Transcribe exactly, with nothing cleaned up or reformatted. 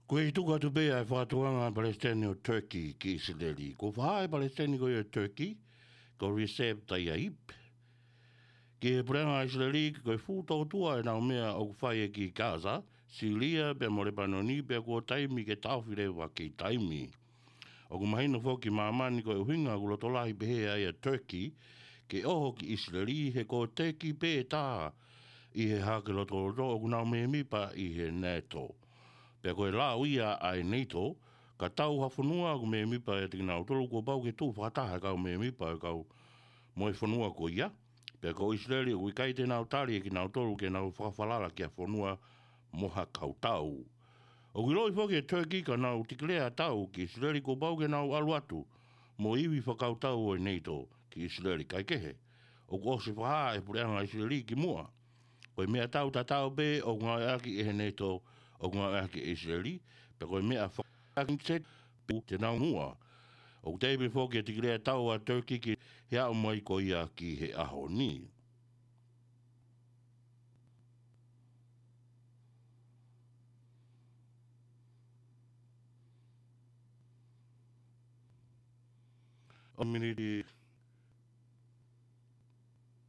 Ko e tuku atu pē ʻa e fakatuʻunga ʻa e Palesiteni ʻo Turkey ki ʻIsileli. Ko e fakahā ʻe he Palesiteni ko ia ʻo Turkey, ko Recep Tayyip, ki he puleʻanga ʻIsileli, ko e fuʻu tōtuʻa ʻenau meʻa ʻoku fai ʻi Gaza, Silia, pea mo Lepanoni, pea kuo taimi ke taʻofi leva ki taimi. ʻOku mahino foki ki māmani ko e ʻuhinga ʻoku loto lahi pehē ai ʻa Turkey ke ʻoho ki ʻIsileli, he ko Turkey pē taha ʻi he hake lotoloto ʻoku nau mēmipa ʻi he NATO. Pea ko e lau ia ʻa e NATO, ka tau ha fonua ʻoku mēmipa ʻiate kinautolu, kuo pau ke tuʻu fakataha e kau mēmipa ʻo e kau mo e fonua ko ia. Pea ko ʻIsileli ʻoku ʻikai te nau tali ʻe kinautolu ke nau fakafalala ki ha fonua mo ha kautau. ʻOku ʻiloʻi foki ʻe Turkey ka nau tikilea tau ki ʻIsileli, kuo pau ke nau ʻalu atu mo e ivi fakakautau ʻo e NATO ki ʻIsileli, kae kehe, ʻoku ʻosi fakahā ʻe he puleʻanga ʻIsileli kimuʻa, ko e meʻatau tatau pē ʻoku ngāueʻaki ʻe he NATO ʻoku ngāueʻaki ʻe ʻIsileli, pea ko e meʻa fakakingset pē te nau muʻa. ʻOku teʻeki pē foki ke tikilea tau ʻa Turkey ki he aʻu mai ko ia ki he ʻaho ni. ʻO miniti